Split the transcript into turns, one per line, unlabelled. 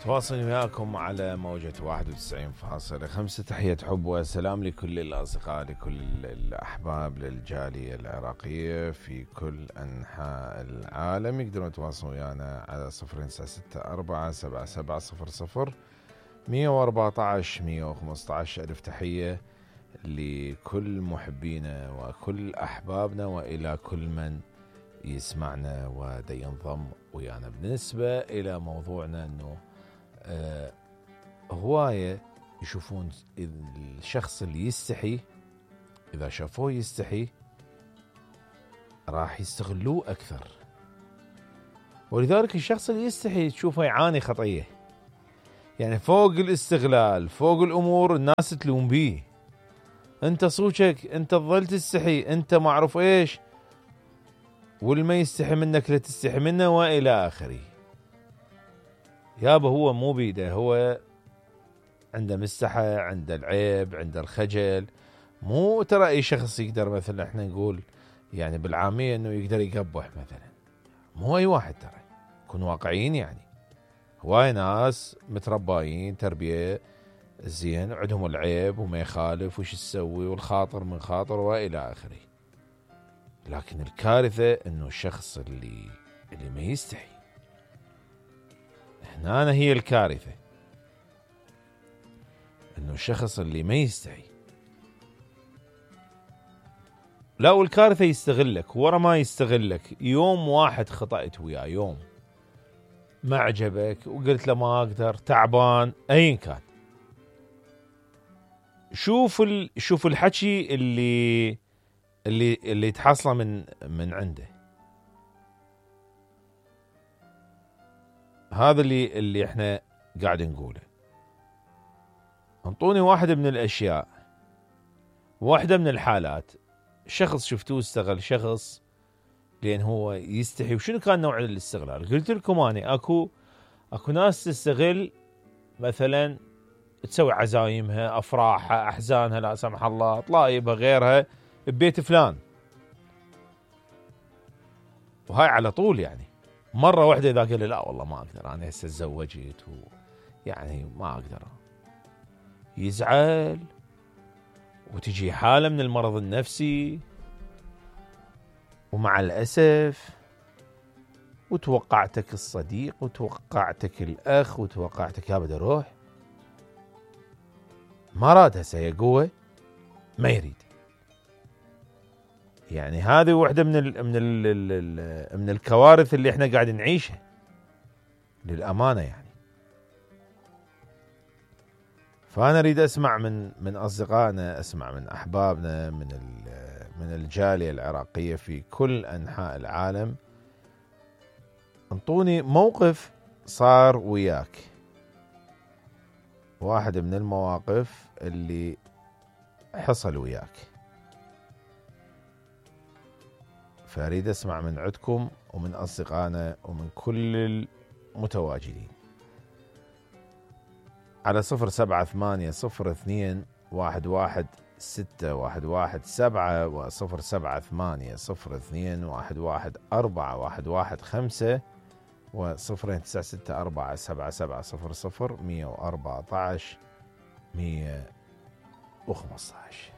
متواصل وياكم على موجة 91.5. تحية حب وسلام لكل الأصدقاء، لكل الأحباب، للجالية العراقية في كل أنحاء العالم. يقدرون يتواصلوا ويانا على 0964 114 115. ألف تحية لكل محبينا وكل أحبابنا وإلى كل من يسمعنا ودا ينضم ويانا. بالنسبة إلى موضوعنا أنه هواية يشوفون الشخص اللي يستحي، إذا شافوه يستحي راح يستغلوه أكثر، ولذلك الشخص اللي يستحي تشوفه يعاني خطية، يعني فوق الاستغلال، فوق الأمور الناس تلوم بيه، أنت صوتك، أنت تظل تستحي، أنت ما أعرف إيش، والما يستحي منك لا تستحي منه وإلى آخره. يابا هو مو بيده، هو عنده مستحى، عنده العيب، عنده الخجل. مو ترى أي شخص يقدر مثلا احنا نقول يعني بالعامية انه يقدر يقبح مثلا، مو أي واحد ترى، نكون واقعيين. يعني هواي ناس مترباين تربية زين، عندهم العيب وما يخالف وش تسوي والخاطر من خاطر وإلى آخره. لكن الكارثة انه الشخص اللي ما يستحي، هنا هي الكارثة، انه الشخص اللي ما يستحي. لا، والكارثة يستغلك، ورا ما يستغلك يوم واحد خطأت وياه، يوم ما عجبك وقلت له ما اقدر، تعبان، ايا كان، شوف الحكي اللي تحصله من عنده. هذا اللي احنا قاعد نقوله. انطوني واحدة من الاشياء، واحدة من الحالات، شخص شفتوه استغل شخص لان هو يستحي. وشنو كان نوع الاستغلال؟ قلت لكم اني اكو ناس تستغل، مثلا تسوي عزايمها، افراحها، احزانها، لا سمح الله، طلايبها، غيرها ببيت فلان، وهاي على طول. يعني مرة واحدة إذا قال لا والله ما أقدر، أنا هسه تزوجت يعني ما أقدر، يزعل وتجي حالة من المرض النفسي، ومع الأسف وتوقعتك الصديق وتوقعتك الأخ وتوقعتك يا بدي أروح، ما راد هسه، هي قوة ما يريد. يعني هذه واحدة من الكوارث اللي احنا قاعد نعيشها للأمانة. يعني فأنا أريد أسمع من أصدقائنا، أسمع من أحبابنا، من الجالية العراقية في كل أنحاء العالم. انطوني موقف صار وياك، واحد من المواقف اللي حصل وياك، فأريد أسمع من عندكم ومن أصدقائنا ومن كل المتواجدين على 0780211611 و0780211415 و09647700 114 115.